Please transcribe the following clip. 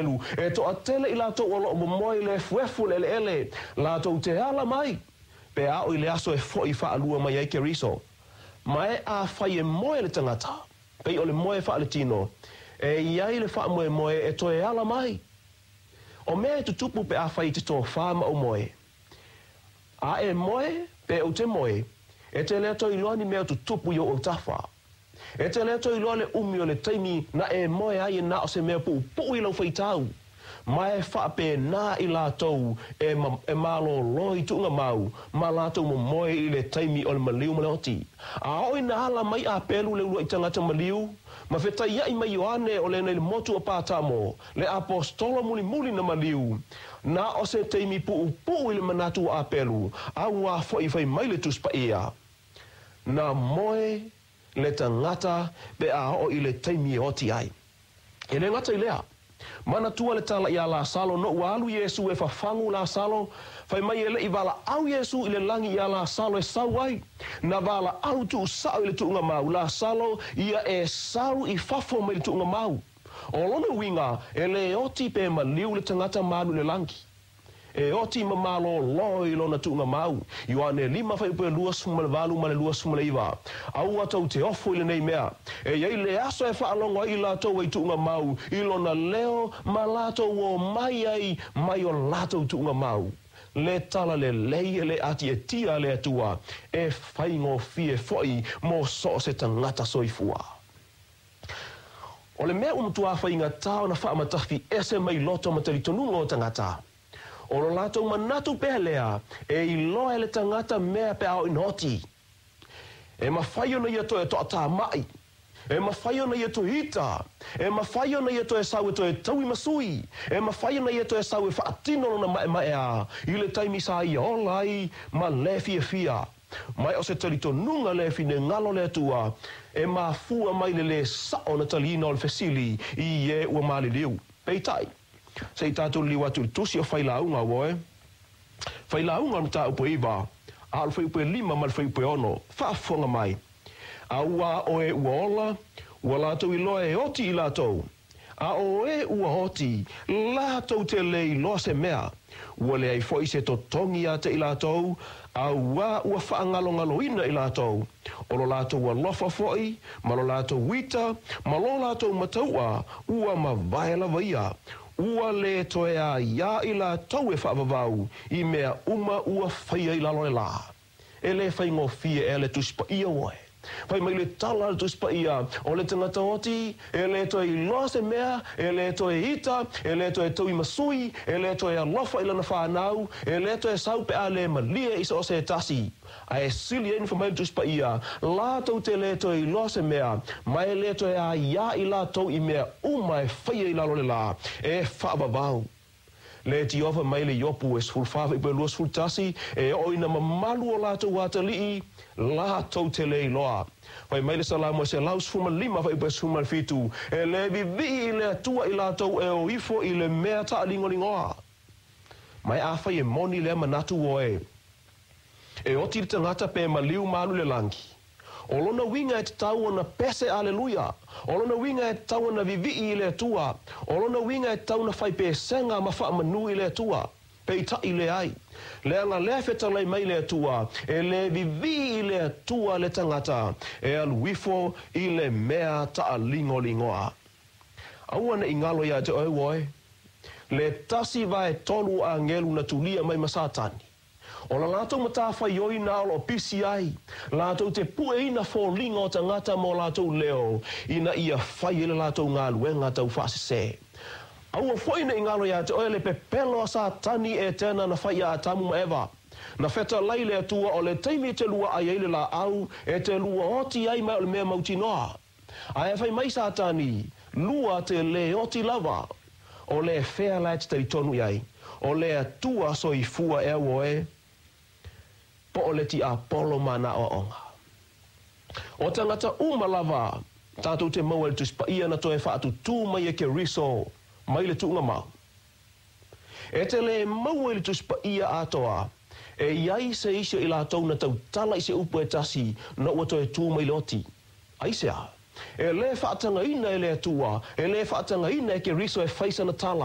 Āpelu, e toatele i latou o lo o momoe i le efuefu o le eleele, latou te ala mai, pe a oo i le aso e foʻi faalua mai ai Keriso. Ma e afai e moe le tagata, pei o le moe faaletino, e i ai le faamoemoe e toe ala mai. O mea e tutupu pe afai e te tofa ma ou moe. A e moe, pe ou te moe, e te le toe iloa ni mea o tutupu i ou autafa. E te le toe iloa le umi o le taimi na e moe ai e na o se mea puupuu i lau faitau. Ma e faapena i latou e e malōlō i tuugamau ma latou momoe i le taimi o le maliu ma le oti. A oo ina ala mai Āpelu le uluai tagata maliu, ma fetaiaʻi ma Ioane o lena i le motu o Patamo, le aposetolo mulimuli na maliu, na o se taimi puupuu i le manatu o Āpelu, a ua foʻi fai mai le Tusi Paia, Na moe le tagata pe a oo i le taimi e oti ai. E le gata i lea, manatua le tala iā Lasalo no ua alu Iesū e fafagu Lasalo, fai mai e leʻi valaau Iesū i le lagi iā Lasalo e sau ai. Na valaau tuusao i le tuugamau Lasalo ia e sau i fafo mai le tuugamau. O lona uiga, e le oti pe maliu le tagata ma alu i le lagi. E oti ma malōlō i lona tuugamau. Ioane 5 28 ma le 29. Aua tou te ofo i lenei mea. E i ai le aso e faalogo ai i latou e i tuugamau i lona leo ma latou o mai ai mai o latou tuugamau. Le tala lelei e le atiatia a le Atua, e faigofie foʻi mo so o se tagata soifua. O le mea ua matua faigata ona faamatafi ese mai loto ma talitonuga o tagata. O lo latou manatu pea lea e iloa e le tagata mea pe a oo ina oti. E mafai ona ia toe toatamaʻi. E mafai ona ia toe ita. E mafai ona ia toe sau e toe taui ma sui. E mafai ona ia toe sau e faatino lona maemaeā i le taimi sa ia ola ai ma le fiafia. Ma e o se talitonuga le finagalo o le Atua e mafua mai le lē sao ona taliina o le fesili i e ua maliliu. Peitai, se i tatou liliu atu i le Tusi o Failauga, auē, Failauga o le mataupu e 9, a o le fuaiupu e 5 ma le fuaiupu e 6, faafofoga mai, Auā o e ua ola, ua latou iloa e oti i latou, A o e ua oti, latou te le iloa se mea, ua leai foʻi se totogi iā te i latou, auā ua faagalogaloina i latou, o lo latou alofa foʻi, ma lo latou ita, ma lo latou matauʻa, ua mavae lava ia, ua le toe aiā i latou e faavavau i mea uma ua faia i lalo o le lā. E le faigofie ea le Tusi Paia oe. Fai mai le tala a le Tusi Paia, o le tagata oti, e le toe iloa se mea, e le toe ita, e le toe taui ma sui, e le toe alofa i lana fanau, e le toe sau pe a le malie i so o se tasi. Ae sili ai ona fai mai le Tusi Paia, latou te le toe iloa se mea, ma e le toe aiā i latou i mea uma e faia i lalo o le lā, e faavavau. Le tiofa mai le Iopu e 14 fuaiupu e 21, e oo ina mamalu o latou atalii, latou te le iloa. Fai mai le Salamo e 115 fuaiupu e 17, e le vivii i le Atua i latou e o ifo i le mea taaligoligoa. Ma e afai e moni lea manatu oe, e oti le tagata pe maliu ma alu i le lagi. O lona uiga e tatau ona pese Aleluia! O lona uiga e tatau ona vivii i le Atua. O lona uiga e tatau ona fai pesega ma faamanu i le Atua. Peitai leai. Leaga lea fetalai mai le Atua, e le vivii i le Atua le tagata e alu ifo i le mea taaligoligoa. Aua ne i galo iā te oe oe, le 1/3 o agelu na tulia mai ma Satani. O la latou matafaioi na o lo o pisi ai latou te pueina foliga o tagata ma o latou leo ina ia fai ai le latou galuega taufaasese. Aua foʻi ne i galo iā te oe le pepelo a Satani Etena na fai iā Atamu ma Eva. Na fetalai le Atua o le taimi e te luaʻai ai le laau e te lua oti ai ma e o le mea mautinoa. Ae fai mai Satani, Lua te le oti lava. O le fea la e te talitonu i ai, o le Atua soifua ea oe, po o le tiapolo ma ana aoaoga? O tagata uma lava tatou te maua i le Tusi Paia na toe faatutū mai e Keriso mai le tuugamau. E te le maua i le Tusi Paia atoa, e i ai se isi o i latou na tautala i se upu e tasi na ua toe tū mai le oti. Aisea? E le faatagaina e le Atua, e le faatagaina e Keriso e fai sana tala.